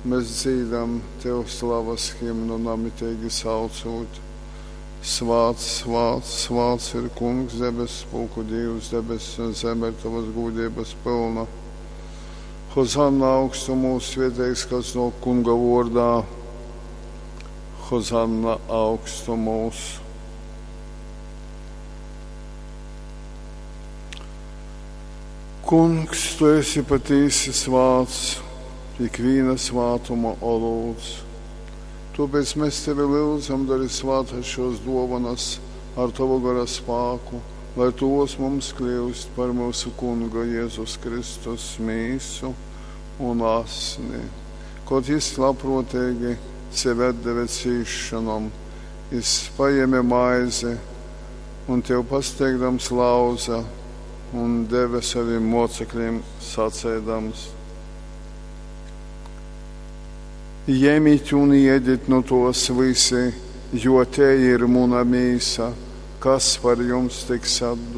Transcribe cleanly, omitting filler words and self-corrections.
Mes dzīdam Tev slavas himnu namiteigi saucūt: Svāts, svāts, svāts ir Kungs, debesspulku Dīvs, debess un zeme ir Tovas gūdeibas pylna. Hozanna augstumūs, svieteigs, kas nōk Kunga vōrdā. Hozanna augstumūs. Kungs, Tu esi patīsi svāts, ikvīna svātuma olūts. Tōpēc mēs Tevi lyudzam, dari svātas šos dōvonas ar Tovu gara spāku, lai tos mums kļūst par mūsu Kunga Jēzus Kristus mīsu un asni. Kod jis labprōteigi sevi atdeve cīsšonom, jis paēme maizi un Tev pasteigdams lauza un deve savim mocekļiem saceidams: Jemit un iedit nu tos visi, jo te ir muna mīsa, kas par jums tiks atdota.